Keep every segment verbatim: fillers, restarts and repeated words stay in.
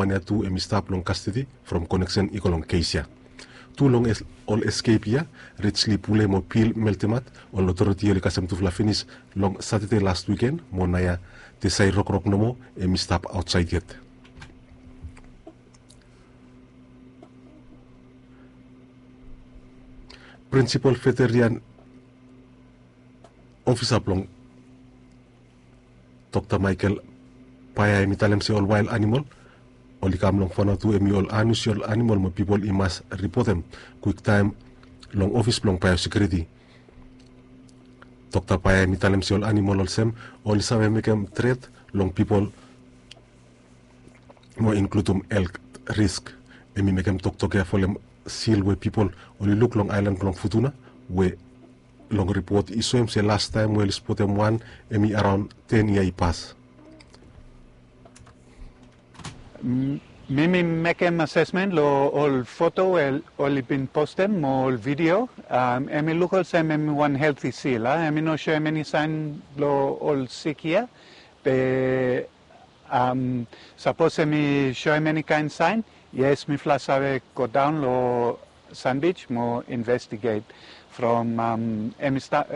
Wan ya tu hem i stap long kastedi from koneksen i go long kes ya. Tu long ol eskep ya, Rijli Pule mo Pil Meltemat, ol otoriti oli kasem tufala finis long Satade las wiken, mo naoia Tesai Rokrok nomo hem i stap aotsaed yet. Prinsipol veterian ofisa blong Dokta Michael Paea hem i talem se ol wael animol oli kam long Vanuatu hem i ol anusiol animol mo pipol i mas ripotem kwiktaem long ofis blong baeosekiuriti. Dokta Paea hem i talem se ol animol olsem oli save mekem tret long pipol mo inkludim helt risk. Hem i mekem toktok ya folem sil we pipol oli luk long aelan blong Futuna, we long ripot i soem se lastaem we oli spotem wan hem i araon ten yia i pas. Mi mi mekem asesmen long ol foto we oli bin postem mo ol video. Hem i luk olsem hem i wan helti sil. Hem i no soem eni saen blong ol sik ya. Be sapos hem i soem eni kaen saen, yes, mifala save godaon long Sandbij mo investiget. From hem i stap,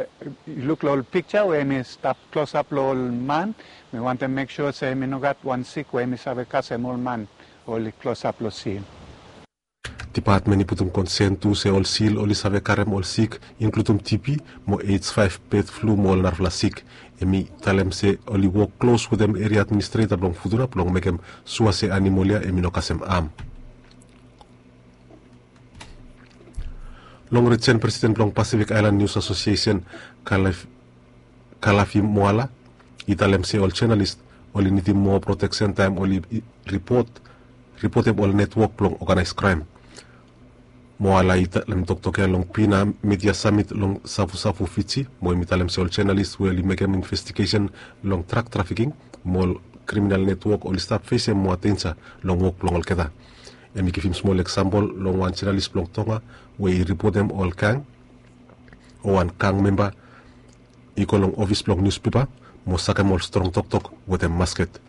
yu luk long ol piksa we hem i stap klosap long ol man, mi wantem mek sua se hem i no gat wan sik we hem i save kasem ol man oli klosap long sil. Dipatmen i putum konsen tu se ol sil oli save karem ol sik, inkludim TB mo H five bird flu mo ol narafala sik. Hem i talem se oli wok klos wetem eria administreta blong Futuna blong mekem sua se animol ya hem i no kasem am. Long rijen, presiden blong Pacific Island News Association, Kalafi Moala, i talem se ol jonalis oli nidim moa proteksen taem oli ripotem ol netwok blong oganaes kraem. Moala i talem toktok ya long Pina Media Summit long Savusavu, Fiji, mo hem i talem se ol jonalis we oli mekem investigesen long drak trafiking mo ol kriminal netwok oli stap fesem moa denja long wok blong olgeta. Hem i givim smol eksampol long wan jonalis blong Tonga we i ripotem ol gang, o wan gang memba i go long ofis blong niuspepa mo sakem ol strong toktok wetem masket.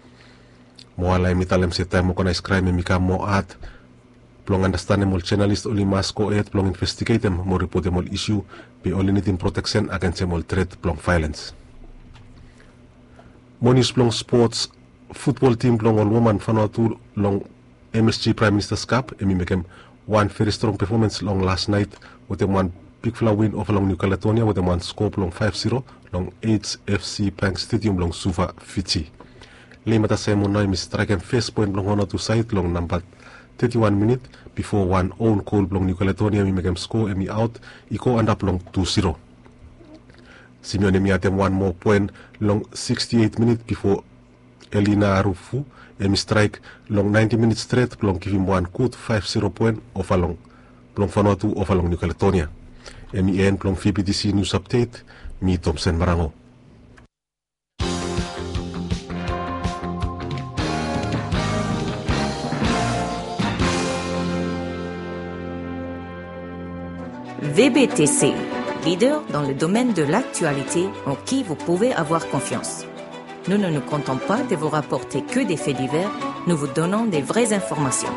Moala hem i talem se taem oganaes kraem hem i kam moa had blong andastanem, ol jonalis oli mas gohed blong investigetem mo ripotem ol isu, be oli nidim proteksen agensem ol tret blong vaelens. Mo nius blong spots, futbol tim blong ol woman Vanuatu long MSG Prime Minister's Cup hem i mekem wan veri strong pefomans long las naet wetem wan bigfala win ova long New Caledonia wetem wan skoa blong faef ziro long HFC Bank Stadium long Suva, Fiji. Leimata Saemon nao hem i straekem fes poen blong Vanuatu saed long namba teti wan minit, bifo wan own gol blong New Caledonia hem i mekem skoa hem i aot i go antap long tu ziro. Simeon hem i adem wan moa poen long siksti eit minit bifo Elina Arufu hem i straek long naenti minit stret blong givim wan gud faef ziro poen ova long blong Vanuatu ova long New Caledonia. Hem i en blong VBTC News Update. Mi Tomsen Marango. VBTC, leader dans le domaine de l'actualité en qui vous pouvez avoir confiance. Nous ne nous contentons pas de vous rapporter que des faits divers, nous vous donnons des vraies informations.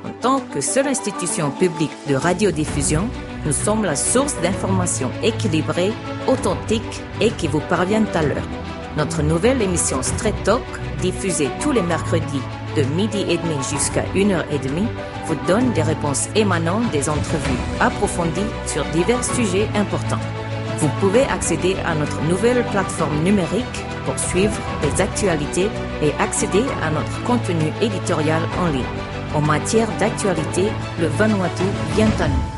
En tant que seule institution publique de radiodiffusion, nous sommes la source d'informations équilibrées, authentiques et qui vous parviennent à l'heure. Notre nouvelle émission Straight Talk, diffusée tous les mercredis de midi et demi jusqu'à une heure et demie, vous donne des réponses émanant des entrevues approfondies sur divers sujets importants. Vous pouvez accéder à notre nouvelle plateforme numérique pour suivre les actualités et accéder à notre contenu éditorial en ligne. En matière d'actualité, le Vanuatu vient à nous.